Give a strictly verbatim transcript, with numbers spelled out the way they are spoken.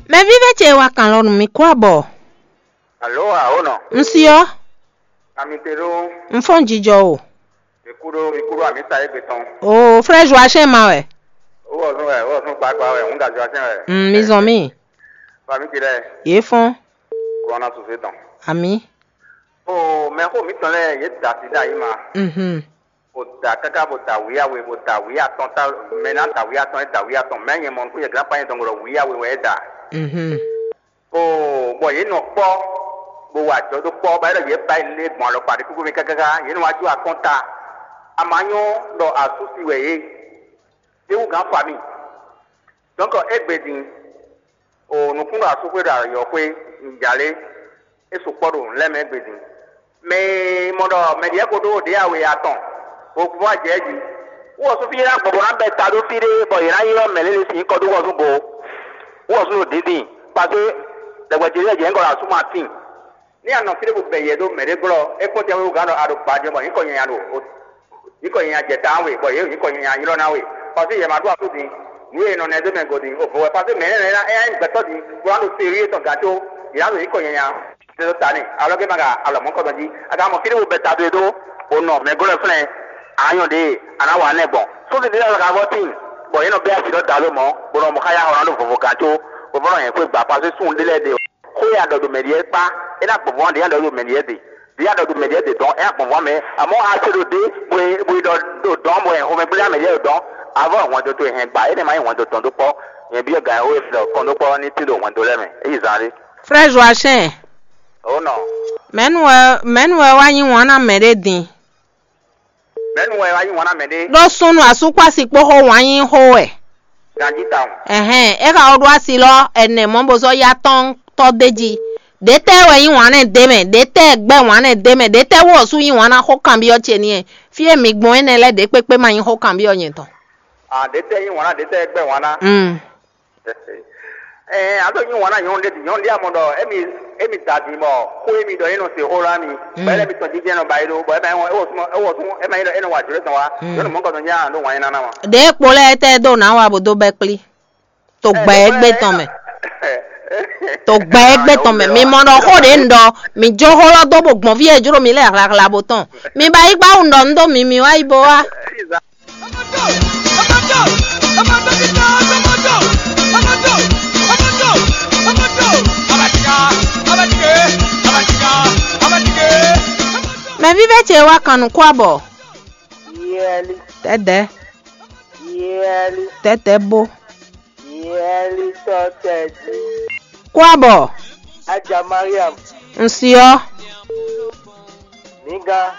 Mɛ vívɛ́ ce wá kan lɔ nú mi kú abɔ. Alo, awo nɔ. Un si ɔ́, Ami te ɖó. Un fɔ́n jijɔ o. Mi kú ɖó, mi kú ɖó ami sa égbé tɔn. O frère Joachim ma wɛ. Wowɔ zɔn wɛ, wowɔ zɔn gbagba wɛ, hun da Joachim wɛ. Mm, mi zɔn mi. Ba mi ti lɛ. Yé fɔ́n. Kó ɔna suse tɔn. Ami. O mɛ xo mi tɔn lɛ, yé da si da yi ma. Mhm. O da kaka bo da wiyawe, bo da wiya tɔn ta, mɛ na da wiya tɔn, e da wiya tɔn, mɛ nyɛ mɔ nukun yɛ glan pa nyɛ dɔn gɔlɔ wiyawe wɛ e da. Mhm. Oo, bɔ yě nɔ kpɔ́, bó wa ajɔ dó kpɔ́, bɔ é ɖɔ yě ba yi lé gbɔn alɔkpa ɖé kúkú mɛ káká, yě nɔ wá jó akɔ́nta. A ma nyɔ́ ɖɔ asú si wɛ yě, é wú gǎn fa mì. Dɔ̌nkɔ égbé din, o nukún ɖo asúxwé ɖo ayɔxwé, nǔjálé, é sukpɔ́ ɖo nǔ lɛ́ɛ mɛ égbé din. Mɛ e mɔ ɖɔ mɛ ɖěe ko ɖó ɖě awe atɔn, bó vɔ́ ajɛ jí. Wú ɔ́ sú fí ná gbɔn bó ná bɛ́ ta ɖó fí ɖé, bɔ yě ná ylɔ́ mɛ lě lě sín nyǐkɔ dó wɔzúngo. Wú ɔ́ sú ɖo dǐndín, kpasé ɖɛgbɛ ce lɛ́ɛ jɛ nyǐkɔ ɖo asú ma tíin. Ní a nɔ fí ɖé bó bɛ yɛ ɖó mɛ ɖé glɔ́, é kpɔ́n tɛnmɛ wú gǎn ɖɔ a ɖo gbajɛ bɔ nyǐkɔ nyanya ɖo, nyǐkɔ nyanya jɛ ta we, bɔ yě ɖo nyǐkɔ nyanya ylɔ́ ná we. Kpasé yɛ ma ɖó asú din, nǔ e è nɔ nɛ dó mɛ go din, o vo wɛ kpasé mɛ énɛ́ lɛ́ɛ ná é ná nyí gbɛtɔ́ din, bó ná ɖo serié tɔn gǎn có, yě ná ɖo nyǐkɔ nyanya. Tɛ́ dó ta n'i, alɔ ke ma ka alɔ mɔ̌kɔtɔn jí. A ka mɔ fí ɖé wo bɛ ta do e dó, bó nɔ mɛ glɔ́ flɛ́n, a nyɔ ɖě a nǎ wa nɛ gbɔn. Sófin ɖé lɛ́ɛ ka vɔ́ tíin, bɔ yě nɔ bɛ́ asi ɖɔ da ló mɔ̌, bó nɔ mɔ xá yá xɔ ná ɖo vovo gǎn có, bó vɔ́ nɔ nyɛ xwé gba pasé sun ɖé lɛ́ɛ ɖe. Xó e a ɖɔ ɖo mɛ ɖíe kpá, é ná gbɔn vɔ́ ɖě a ɖɔ ɖo mɛ ɖíe ɖe. Ɖě a ɖɔ ɖo mɛ ɖíe ɖe dɔn, é ná gbɔn vɔ́ mɛ. Amɔ̌ a se ɖo ɖě, bó e bó e ɖɔ ɖo dɔn, bó e xomɛ gblé ná mɛ ɖíe ɖo dɔn, a vɔ́ hwɛndo towe hɛn gba, énɛ́ ma nyí hwɛndo tɔn dó kpɔ́. Nyɛ byɔ́ gǎn e xó e ɖɔ kɔn dó kpɔ́ ní tín ɖo hwɛndo lɛ́ɛ mɛ. É yi zán ɖé. Frère Joachim, Ó nɔ. Mɛ̌nu wɛ mɛ̌nu wɛ wá yí wǎn ná mɛɖé din? Mɛ̌nu wɛ wá yí wǎn ná mɛɖé? Ɖó súnnu asúkpási kpó xó wǎn yí xó wɛ. Ganjí tawun. Ɛhɛn, é xa wó ɖó asi lɔ ɛnɛ mɔ̌ bó zɔ́ yá tɔn tɔ́ d'é jí. Ɖětɛ́ wɛ yí wǎn nɛ d'é mɛ? Ɖětɛ́ gbɛ́ wǎn nɛ d'é mɛ? Ɖětɛ́ wú ɔ́ sú yí wǎn ná xó kanbyɔ́ ce n'i? Fí e mi gbɔn énɛ́ lɛ́ɛ ɖě kpékpé ma nyí xó kanbyɔ́ nyɛ tɔn. A ɖě tɛ́ yí wǎn ná, ɖě tɛ́ gbɛ́ wǎn ná. Mm. Ɛɛ, a ɖo nyi wɔn na nyɔnu ɖe, nyɔnu ɖe amɔ ɖɔ emi emi da din bɔ xó emi ɖɔ yé nɔ se xó la mi. Bɔ ɛlɛ mi tɔn jijɛ nɔ ba yi ɖo bɔ ɛmɛ ɛwɔ ɛwɔ sún ɛwɔ sún ɛmɛ yi ɖɔ ɛnɔ wa jlɛ tɔn wa. Nyɔnu mɔkɔ tɔn nya ɖo wan yi nana ma. Ɖě kpo lɛ́ɛ tɛ dó nǎ wa bó dó bɛ́ kplí to gbɛ égbé tɔn mɛ. To gbɛ égbé tɔn mɛ. Mi mɔ ɖɔ xó ɖě un ɖɔ, mi jó xó lɔ dó bó gbɔn fí e jló mi lɛ́ɛ hlahlawo tɔn. Mi ba yi gbá wun ɖɔ un ɖó mi mi wá yi bó wá. Mɛ vívɛ́ ce wá kan nǔ kó abɔ. Yɛli, Tɛ́tɛ́, yɛli, tɛ́tɛ́ bó. Yɛli tɔ tɛdi. Kó abɔ. Aja Mariam, Un si ɔ́. Niga.